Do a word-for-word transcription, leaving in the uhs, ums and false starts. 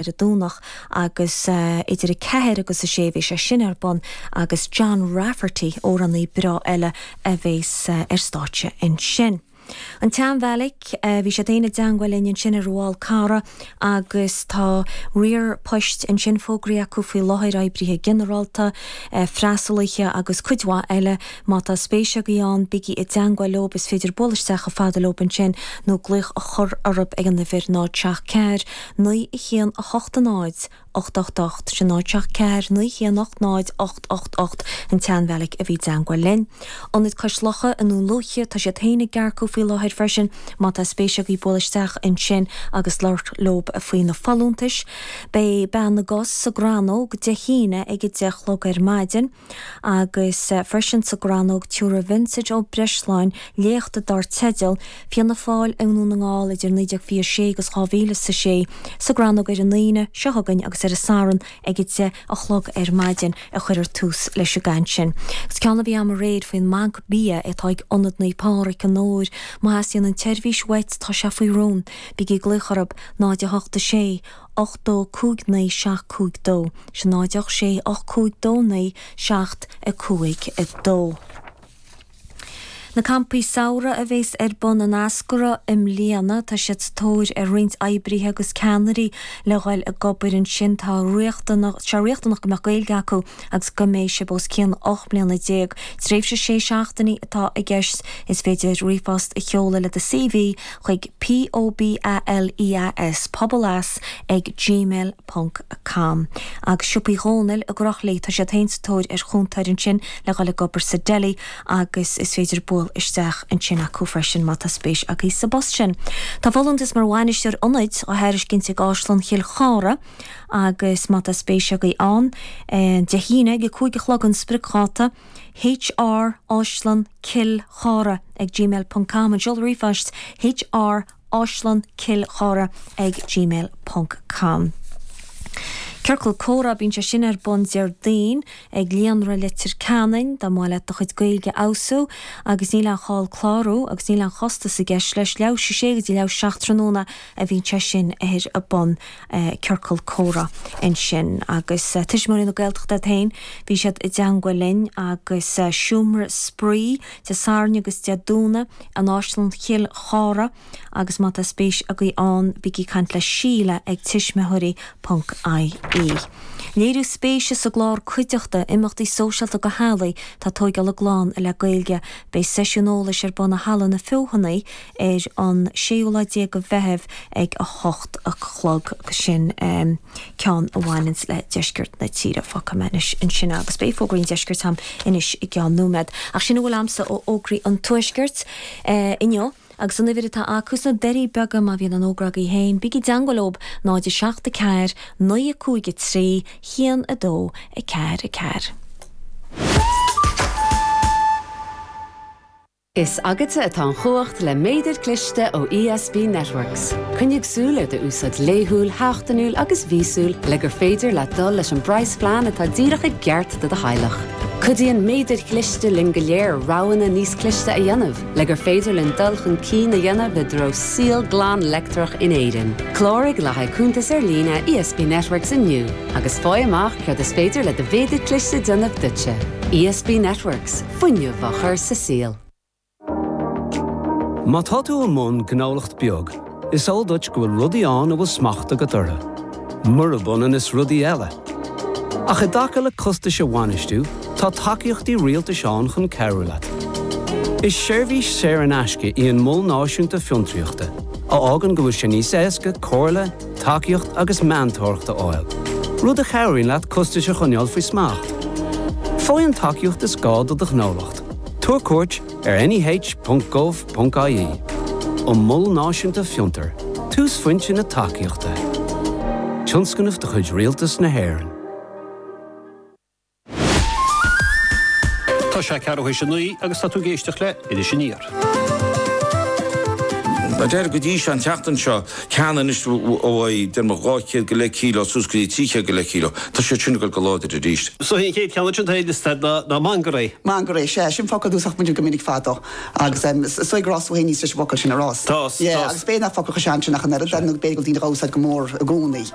ar an Domhnach agus idir a ceathair agus a sé bhí sé sin ar bun agus John Rafferty, amhránaí breá eile a bhéas ar stáitse ansin. An tSeanbheairic, bhí siad féin i dteangmháil linn ansin ar an bhFál Carrach agus tá riar poist ansin fógraithe acu faoi láthair, oibrithe ginearálta, freastalaithe agus cuid mhaith eile. Má tá spéis agaibh ann, bígí i dteangmháil leob, is féidir bualadh isteach chomh fada leob ansin nó glaoch a chur orthu ag an uimhir náid seacht ceathair, naoi a haon a hocht a náid, ocht ocht ocht, sin náid seacht ceathair, naoi haon ocht náid, ocht ocht ocht, an tSeanbheairic a bhí i dteangmháil linn. Ionad Cois Locha i nDún Lúiche, tá siad féin ag earcú faoi láthair freisin, má tá spéis agaibh bualadh isteach ansin agus labhairt leob faoi na folúntais. Beidh Bean na gCos sa gCrannóg Dé hAoine ag a deich a chlog ar maidin agus freisin sa gCrannóg tiúrfaidh Vincent Ó Breisleáin léacht dar teideal Fianna Fáil i nDún na nGall idir naoi déag fiche a sé agus dhá mhíle is a sé sa gCrannóg ar an Aoine seo chugainn agus ar an Satharn ag a deich a chlog ar maidin a chuirfear tús leis an gcaint sin. Agus ceann a bhí a'm aréir faoin mbanc bia atá ag Ionad Naomh Pádraig i nDobhair, má theastaíonn an tseirbhís uait tá sé faoi rún, bígí ag glaoch orthu, náid a hocht a sé, ocht dó cúig naoi seacht cúig dó, sin náid ocht sé ocht cúig dó naoi seacht a cúig dó. Na campaí samhraidh a bhéas ar bun in Eascarrach i mbliana, tá siad sa tóir ar roinnt oibrithe agus ceannairí le dhul ag obair ansin. Tá riachtanach, sé riachtanach go mbeadh Gaeilge acu agus go mbeidh sibh os cionn ocht mbliana déag. Tréimhse sé seachtainí atá i gceist. Is féidir ríomhphost a sheoladh le do C V chuig P O B A L E A S, pobaleas ag gmail ponc com. Agus Siopaí Dhónaill i gCroithlí, tá siad féin sa tóir ar chúntóir ansin le dhul ag obair sa deli agus is féidir bualadh isteach ansin acu freisin má tá spéis agaibh sa bpost sin. Tá folúntas mar bhainisteoir ionaid á thairiscint ag Áislann Chill Chartha agus má tá spéis agaibh ann, Dé hAoine ag a cúig a chlog an spriocdháta, H R Áislann Cill Chartha ag gmail ponc com an seoladh ríomhphoist H R Áislann Cill Chartha ag gmail ponc com. Ciorcal Comhrá, bíonn sé sin ar bun Déardaoin ag Líonra Leitir Ceanainn, dá mba mhaith leat do chuid Gaeilge a fheabhsú agus níl aon chall clárú agus níl aon chostas i gceist leis, leathuair théis a sé go dtí leathuair théis a seacht tráthnóna a bhíonn sé sin ar bun, Ciorcal Comhrá ansin. Agus Tuismitheoirí na Gaeltachta iad féin, bhí siad i dteangmháil linn agus Seomra Spraoi Dé Sathairn agus Dé Domhnaigh in Áislann Chill Chartha agus má tá spéis agaibh ann bígí ag caint le Síle ag tuismitheoirí ponc I E. Léiriú spéise sa gclár Cuideachta, imeachtaí sóisialta do theaghlaigh atá ag tóigeáil a gclann le Gaeilge. Beidh seisiún eolais ar bun i Halla na Feothanaí ar an séú lá déag de Mheitheamh ag a hocht a chlog agus sin ceann a bhaineanns le deisceart na tíre. Fágfaidh mé anois ansin agus beidh fógraí an deiscirt a'm anois i gceann nóiméad. Ach sin a bhfuil a'msa ó fhógraí an tuaiscirt inniu. Agus an uimhir atá acu sna Doirí Beaga má bhíonn an fhógra agaibh féin, bígí i dteangmháil leob, náid a seacht a ceathair, naoi a cúig a trí, haon a dó a ceathair a ceathair. Is agatsa atá an chumhacht le méadar cliste ó E S B Networks. Coinnigh súil ar d'úsáid laethúil, sheachtainiúil agus mhíosúil le gur féidir leat dul leis an bpraghasphlean atá díreach i gceart do do theaghlach. Cuidíonn méadair chliste linn go léir roghanna níos cliste a dhéanamh, le gur féidir linn dul chun cinn a dhéanamh i dtreo saol glan leictreach in Éirinn. Cláraigh le haghaidh cuntas ar líne E S B Networks inniu agus faigh amach céard is féidir le do mhéadar cliste déanamh duitse. E S B Networks, fuinneamh á chur sa saol. Má tá tú i mbun gnólacht beag, is eol duit go bhfuil rudaí ann a bhfuil smacht agat orthu. Murab ionann is rudaí eile. Ach i dtaca le costais a bhainistiú, tá tacaíochtaí rialtais ann chun cabhrú leat. Is seirbhís saor in aisce í an Mol Náisiúnta Fiontraíochta, a fhágann go bhfuil sé níos éasca comhairle, tacaíocht agus meantóireacht a fháil, rud a chabhraíonn leat costais a choinneáil faoi smacht. Faigh an tacaíocht is gá do do ghnólacht. Tabhair cuairt ar N E H ponc gov ponc I E. An Mol Náisiúnta Fiontar, túsphointe na tacaíochta. Tionscnamh de chuid Rialtas na hÉireann. Tá sé ceathrú théis a naoi agus tá tú ag éisteacht le Iris Aniar. Deir go dtí an tseachtain seo ceann anois ó de dhá chéad go leith kilo suas go dtí trí chéad go leith kilo, Tá sé sin go láidir arís. So an chéad cheann sin liosta ná mangarai. Mangarai sé sin focal dúsach muid go minic fadó agus so grás héní leis focal sin arás. Tá agus bé nach focal sean sin nach an b'fhéidir daoine úsáid go mór i gcónaí.